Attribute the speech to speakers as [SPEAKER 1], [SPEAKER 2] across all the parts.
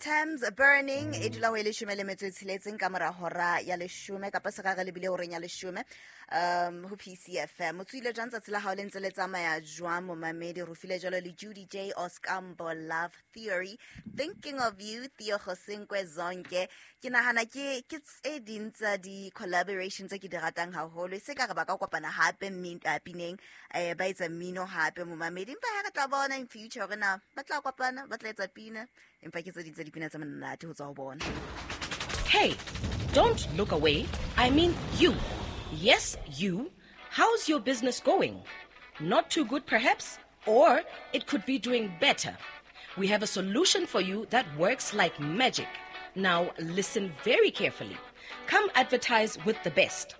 [SPEAKER 1] Thames Burning e dula ho e leshome le metso e tsheletseng ka mora hora ya leshome kapa se re lebile horeng ya leshome ho PCFM. O tswile jwang tsatsi la hao le ntse le tsamaya jwang, momamedi? Re file jwalo le Judy J Oskambo, Love Theory, Thinking of You, Theo Gosenkwe Zonke. Ke nahana ke tse ding tsa di-collaboration tse ke di ratang haholo. E se ka re ba ka kopana hape pineng, ba etsa mmino hape, momamedi. Empa ha re tla bona in future hore na ba tla kopana, ba tla etsa pina. Empa ke tse ding tsa dipina tse monate ho tswa ho bona.
[SPEAKER 2] Hey, don't look away. I mean you. Yes, you. How's your business going? Not too good, perhaps? Or it could be doing better. We have a solution for you that works like magic. Now, listen very carefully. Come advertise with the best.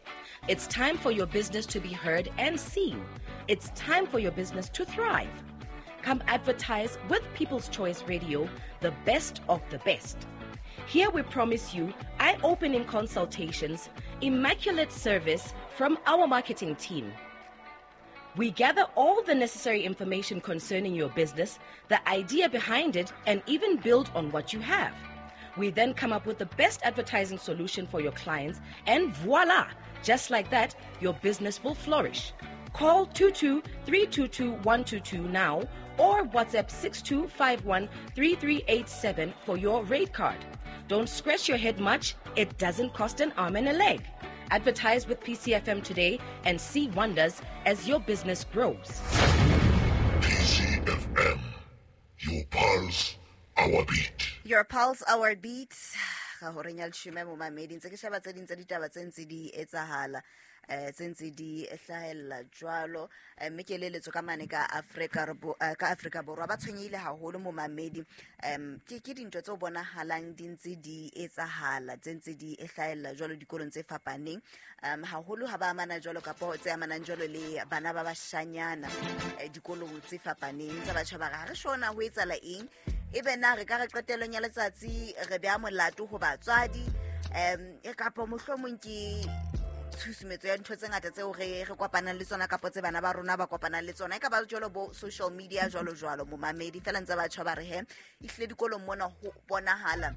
[SPEAKER 2] It's time for your business to be heard and seen. It's time for your business to thrive. Come advertise with People's Choice Radio, the best of the best. Here we promise you eye-opening consultations, immaculate service from our marketing team. We gather all the necessary information concerning your business, the idea behind it, and even build on what you have. We then come up with the best advertising solution for your clients, and voila! Just like that, your business will flourish. Call 22-322-122 now or WhatsApp 6251-3387 for your rate card. Don't scratch your head much. It doesn't cost an arm and a leg. Advertise with PCFM today and see wonders as your business grows.
[SPEAKER 3] PCFM, your pulse, our beat.
[SPEAKER 1] Your pulse, our beat. Ga horeng ya leshome, momamedi, ntse ke sheba tse ding tsa ditaba tse ntse di etsahala, tse ntse di hlahella jwalo. Mme ke eletso ka mane ka Afrika ka Afrika Borwa ba tshwenyehile haholo, momamedi. Ke dintho tse bonahalang di ntse di etsahala, tse ntse di hlahella jwalo dikolong tse fapaneng, haholo ha ba amana jwalo kapo tse amanang jwalo le bana ba bashanyana, dikolong tse fapaneng tsa batjha. Ba re ha re shona ho etsahala eng, ebe na re ka re qetellong ya letsatsi re beha molato ho batswadi, e kapa mohlomong ke tshusumetso ya ntho tse ngata tseo re kopanang le tsona kapa tse bana ba rona ba kopanang le tsona, e ka ba jwalo bo social media jwalo jwalo, momamedi. Fela ntse batjha ba re he ehlile dikolong mona ho bonahala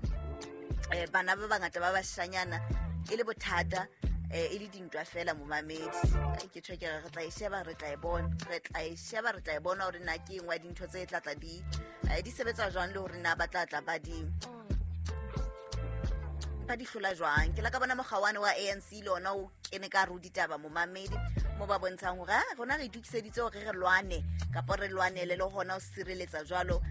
[SPEAKER 1] bana ba bangata ba bashanyana e le bothata, e le dintwa fela, momamedi. Ai, ke tjho ke re tla e sheba, re tla e bona, re tla e sheba, re tla e bona hore na ke engwe ya dintho tse tla tla di sebetsa jwang le hore na ba tla tla ba di hlola jwang. Ke la ka bona mokgawane wa ANC le ona o kene ka hare ho ditaba, momamedi, mo ba bontshang hore rona re itokiseditse hore re lwane kapa re lwanele le hona ho sireletsa jwalo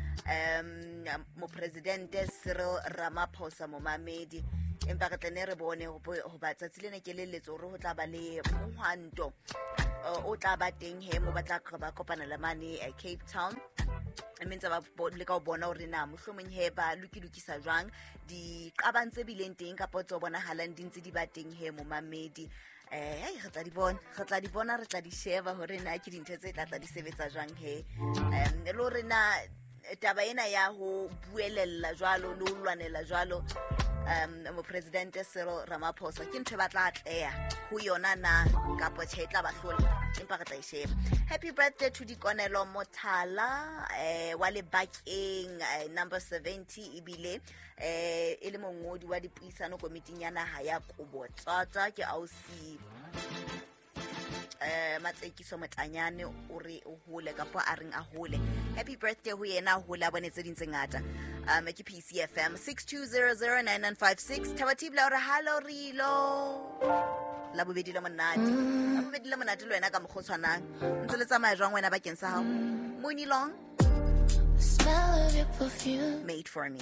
[SPEAKER 1] mopresidente Cyril Ramaphosa, momamedi. Empa re tla ne re bone hoba tsatsi lena ke leletso hore ho tla ba le mohwanto o tla ba teng he mo ba tla ba kopana le mane Cape Town, mme ntse ba leka ho bona hore na mohlomong he ba lokilokisa jwang diqabang tse bileng teng kapa tse bonahalang di ntse di ba teng he, momamedi. Hei, re tla di bona, re tla di bona, re tla di sheba hore na ke dintho tse tla tla di sebetsa jwang he, le hore na taba ena ya ho buelella jwalo le ho lwanela jwalo mopresidente Cyril Ramaphosa ke ntho e ba tla atleha ho yona na kapa tjhe e tla ba hlola, empa re tla e sheba. Happy birthday to Dikonelo Mothala, wa Lebakeng, number 70, ebile e le mongodi wa dipuisano komiting ya naha ya Kobotsata. Ke ausi Matsekiso Motanyane, o re o hole kapa a reng a hole. Happy birthday ho yena, a hole a bone tse ding tse ngata. Ke PCFM, 62009956. Thabatibla o re hallo Rilo, la bobedi le monate, la bobedi le monate le wena ka mokgwa o tshwanang. Ntse le tsamaya jwang wena bakeng sa hao? Muni Long,
[SPEAKER 4] The smell of your perfume.
[SPEAKER 1] Made for Me.